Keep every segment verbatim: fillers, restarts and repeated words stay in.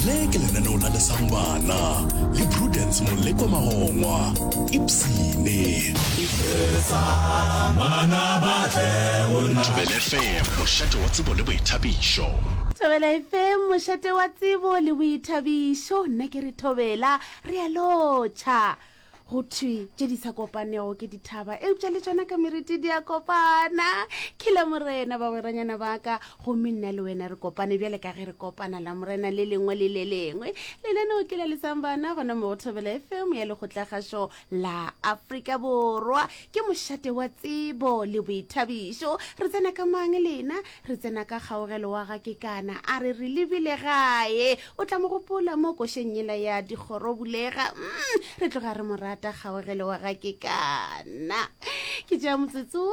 Le ke lenaneo la Lesang Bana le Prudence Moleko Magongwa. Ipsene. Thobela F M, mošate wa tsebo le boithabišo. Thobela F M, mošate wa tsebo le boithabišo. Nna ke re thobela, re a lotšha. Go thwe tše di sa kopanego ke dithaba, eupša le tšona ka meriti di a kopana. Ke la Morena, bagweranyana ba ka, gomme nna le wena re kopane bjale ka ge re kopana la Morena le lengwe le le lengwe. Lenaneo ke la Lesang Bana gona mo go Thobela F M ya Lekgotlakgašo la Afrika Borwa. Ke mošate wa tsebo le boithabišo. Re tsena ka mang lena? Re tsena ka kgaogelo wa ga Kekana, a re re lebile gae. O tla mo gopola mo košeng yela ya dikgoro bulega. Mm, re tloga re mo rata kgaogelo wa ga Kekana. Ke tšea motsotso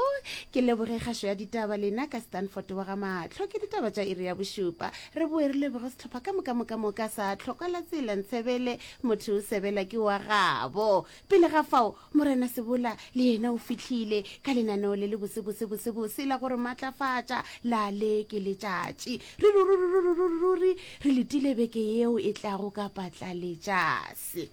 ke leboge kgašo ya ditaba lena ka Stanford wa ga Mahlo, ke ditaba tša iri ya bošupa. Re boe re leboge sehlopha ka moka moka moka sa Tlhoka la Tsela Ntshebele, motho o sebela ke wa gabo. Pele ga fao, Morena Sebola le yena o fihlile ka lenaneo le le bose bose bose bose la gore matlafatša la le ke letšatši. Ruri ruri ruri ruri ruri re letile beke yeo e tlago ka patla letšase.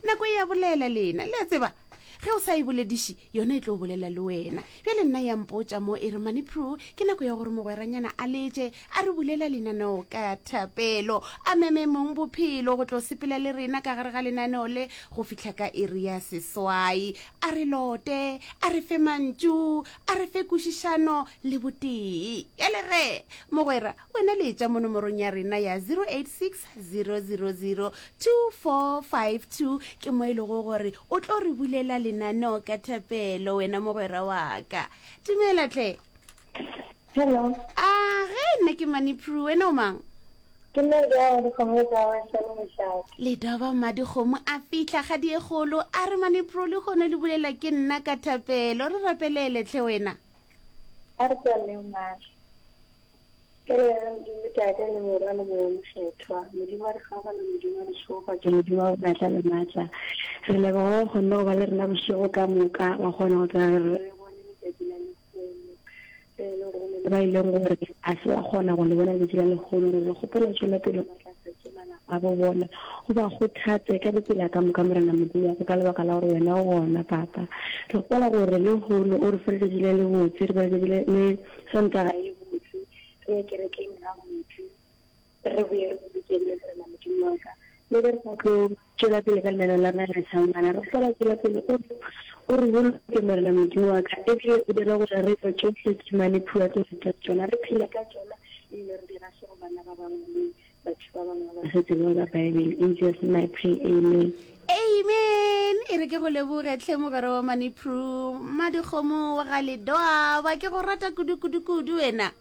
Nako e ya bolela lena, le a tseba ge o sa e bolediše yona e tlo bolela le wena. Bjale nna ya mpotša mo e re Mani Pru, ke nako ya gore mogweranyana a letše a re bulela lenaneo ka thapelo, a meme mong bophelo go tlo sepela le rena ka gare ga lenaneo le go fihla ka iri ya seswai. A re lote, a re fe mantšu, a re fe kwešišano le botee. Bjale ge mogwera wena letša mo nomorong ya rena ya zero eight six zero zero zero two four five two, ke mo e lego gore o tlo re bulela lenaneo ka thapelo. Wena mogwera wa ka, dumela tle. Hello. A ge, nna ke Mani Pru, wena o mang? Ke nna ja dikgomo tsa Wesele Mošate. Ledoba Mmadikgomo a fihla kgadi e kgolo, a re Mani Pru le kgone le bulela ke nna ka thapelo. Re rapelele tlhe wena. A re tswaleng mahlo. Ke le Modimo Tate le Morwa le Moya Mokgethwa. Modimo wa re kgaogelo, Modimo wa ditšhegofatšo, Modimo wa matla le matla. Re leboga go kgonne go ba le rena bošego ka moka, wa kgona go tla re bone letšatši la lehono. Le e le gore go ne le ba e leng gore a se wa kgona go le bona letšatši la lehono. Re re kgopela tšwela pele matlafatše malapa a bo bona, o ba kgothatse ka ditsela ka moka, Morena Modimo wa ka, ka lebaka la gore wena o gona, Papa. Re kgopela gore lehono o re fe letšatši le lebotse, re be letšatši le le Sontaga e botse, re ye kerekeng gabotse, re boye re bolokegile, Morena Modimo wa ka. Le ge re sa tlo tšwela pele ka lenaneo la rena la Lesang, re kgopela tšwela pele o o re boloke, Morena Modimo wa ka, ebile o dire gore re tlo tšohle tše mane phua tlo reta tšona, re phele ka tšona, ebile re di gaše go bana ba bangwe le batho ba bangwe ba sa tsebego ka Bible. In Jesus name I pray, amen. Amen. E re ke go leboge tlhe mogwera wa Mani Pru, Mmadikgomo wa ga Ledoaba, ke go rata kudu kudu kudu wena.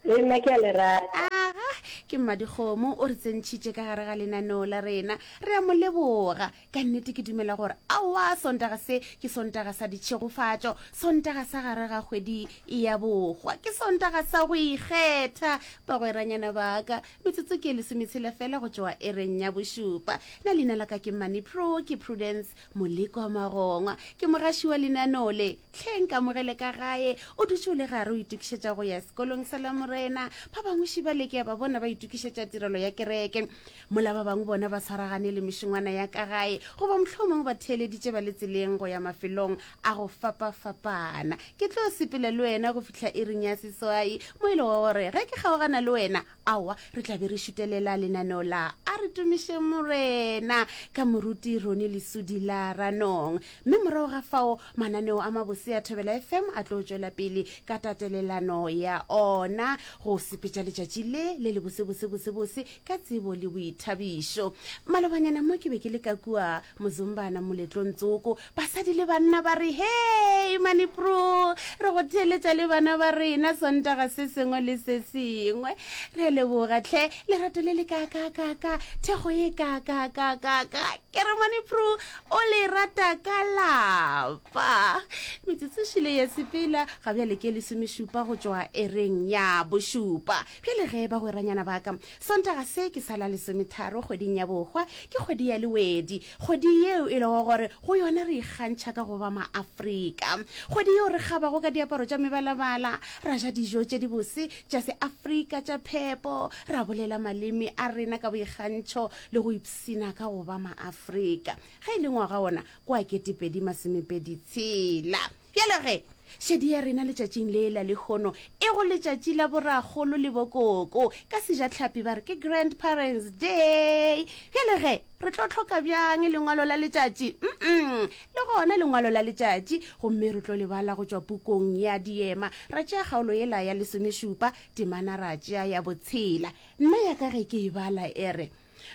Le nna ke a le rata. Aga, ke Mmadikgomo o re tsentšhitše ka gare ga lenaneo la rena, re a mo leboga ka nnete. Ke dumela gore aowa, Sontaga se ke Sontaga sa ditšhegofatšo, Sontaga sa gare ga kgwedi ya bokgwa, ke Sontaga sa go ikgetha. Bagweranyana baka, metsotso ke lesometshela fela go tšwa ereng ya bošupa. Na leina la ka ke Mani Pro, ke Prudence Moleko Magongwa, ke mogaši wa lenaneo le. Tlheng kamogele ka gae o dutše o le gare o itokišetša go ya sekolong sa la Morena. Ba bangwe šiba le ke ya ba bona ba itokišetša tirelo ya kereke, mola ba bangwe bona ba tshwaragane le mešongwana ya ka gae, goba mohlomongwe ba theeleditše ba le tseleng go ya mafelong a go fapafapana. Ke tlo sepela le wena go fihla iring ya seswai, mo e lego gore ge ke kgaogana le wena, aowa, re tla be re šutelela lenaneo la A Re Tumiše Morena ka moruti Roni Lesudi la Ranong, mme morago ga fao mananeo a mabose a Thobela F M a tlo tšwela pele ka tatelelano ya ona go sepetša letšatši le le le bose bose bose bose ka tsebo le boithabišo. Malobanyana mo ke be ke le ka kua Mozombana moletlong tsoko, basadi le banna ba re, "Hei Mani Pro, re go theeletša le bana ba rena Sontaga se sengwe le se sengwe. Re a leboga tlhe, lerato le le kaakakaka, thekgo ye kaakakakaka." Ke re Mani Pro o le rata ka lapa. Metsotso šile ya sepela, ga bjale ke lesomešupa go tšwa ereng ya bošupa. Bjale ge bagweranyana ba ba ka. Sontaga se ke sa la lesometharo kgweding ya bohwa, ke kgwedi ya Lewedi, kgwedi yeo e lego gore go yona re ikgantšha ka go ba Maafrika. Kgwedi yeo re kgabago ka diaparo tša mebalabala, ra ja dijo tše dibose tša Seafrika tša phepo, ra bolela maleme a rena ka boikgantšho le go ipshina ka go ba Maafrika. Ge e le ngwaga wona ke wa ketepedi masomepedi tshela. Bjale ge, šedi ya rena letšatšing le la lehono e go letšatši la borakgolo le bokoko. Ka Sejatlhapi ba re ke Grandparents Day. Bjale ge, re tlo hloka bjang lengwalo la letšatši? Mm-mm, le gona lengwalo la letšatši, gomme re tlo le bala go tšwa pukung ya Diema. Ra tšea kgaolo yela ya lesomešupa, temana ra tšea ya botshela. Nna ya ka ge ke e bala e re,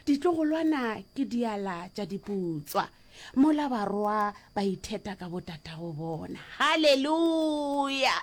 Ditlogolwana ke diala tša diputswa, mola barwa ba itheta ka botatago bona. Haleluya!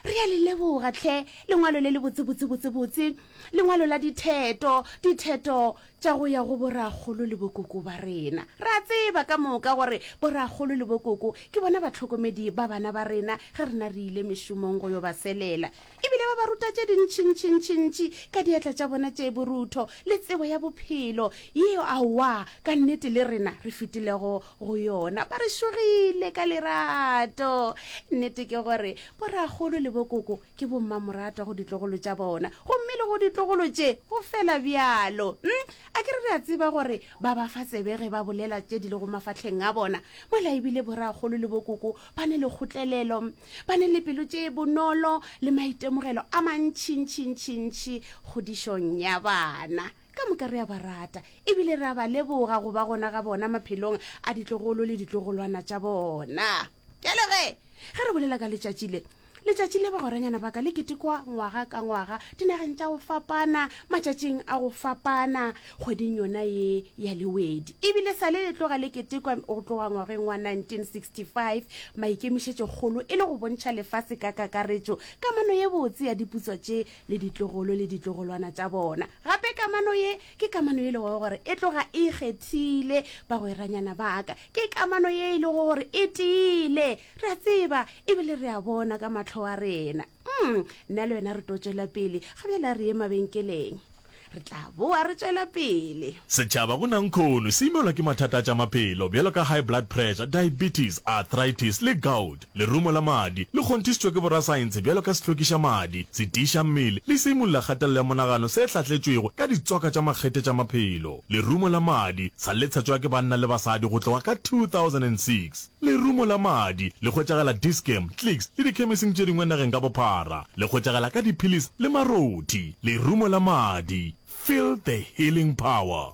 Re a le leboga hle, lengwalo le le botse, botse, botse, botse, lengwalo la ditheto, ditheto tša go ya go borakgolo le bokoko ba rena. Re a tseba ka moka gore borakgolo le bokoko ke bona bahlokomedi ba bana ba rena ge rena re ile mešomong go yo ba selela. E bile ba ba ruta tše dintšintšintšintši ka diatla tša bona tše borutho le tsebo ya bophelo yeo aowa ka nnete le rena re fetilego go yona. Ba re šogile ka lerato. Nnete ke gore borakgolo le bokoko ke bommamoratwa go ditlogolo tša bona, gomme le go ditlogolo tše go fela bjalo. Hm, a ke re re a tseba gore ba ba fa tsebe ge ba bolela tše di lego mafahleng a bona, mola e bile borakgolo le bokoko ba ne le kgotlelelo, ba ne le pelo tše bonolo le maitemogelo a mantšintšintšintši kgodišong ya bana. Ka moka re a ba rata e bile re a ba leboga go ba gona ga bona maphelong a ditlogolo le ditlogolwana tša bona. Bjale ge, ge re bolela ka letšatši le, letšatši le bagweranyana ba ka le ketekwa ngwaga ka ngwaga dinageng tša go fapana, matšatšing a go fapana, kgweding yona ye ya Lewedi. E bile sa le le tloga le ketekwa go tloga ngwageng wa nineteen sixty five, maikemišetšokgolo e le go bontšha lefase ka kakaretšo kamano ye botse ya diputswa tše le ditlogolo le ditlogolwana tša bona. Gape kamano ye ke kamano ye e lego gore e tloga e ikgethile, bagweranyana ba ka. Ke kamano ye e lego gore e tiile. Re a tseba e bile re a bona ka mahlo a rena. Mm, nna le wena re tlo tšwela pele. Ga bjale a re ye mabenkeleng. Re tla boa re tšwela pele. Setšhaba go nankhono se imelwa ke mathata a tša maphelo bjalo ka high blood pressure, diabetes, arthritis le gout. Lerumo la madi le kgonthišitšwe ke borasaense bjalo ka sehlwekiša madi, setiiša mmele le seimolla kgatelelo ya monagano se hlahletšwego ka ditswaka tša makgethe tša maphelo. Lerumo la madi sa le tshetšwa ke banna le basadi go tloga ka two thousand and six Lerumo la madi le hwetšagala Dis-Chem, Clicks le dikhemising tše dingwe nageng ka bophara. Le hwetšagala ka diphilisi le marothi. Lerumo la madi, feel the healing power.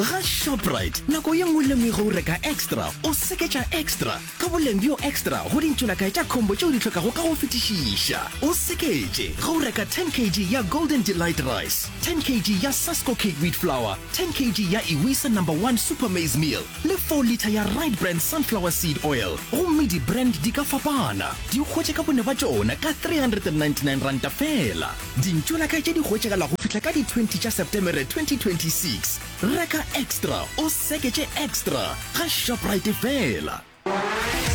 Ga Shoprite, nako ye nngwe le nngwe ge o reka extra, o seketša extra ka boleng bjo extra go dintšolakae tša combo tšeo di hlokago ka go fetišiša. O seketše ge o reka ten kg ya Golden Delight Rice, ten kg ya Sasko Cake Wheat Flour, ten kg ya Iwisa Number One Super Maize Meal le four litre ya Right Brand Sunflower Seed Oil, gomme di-brand di ka fapana. Di hwetše ka bone ba tšona ka three hundred and ninety nine ranta feela. Dintšolakae tše di hwetšagala go fihla ka di twenty tša Septemere twenty twenty six. Reka extra o seketše extra ga Shoprite feela.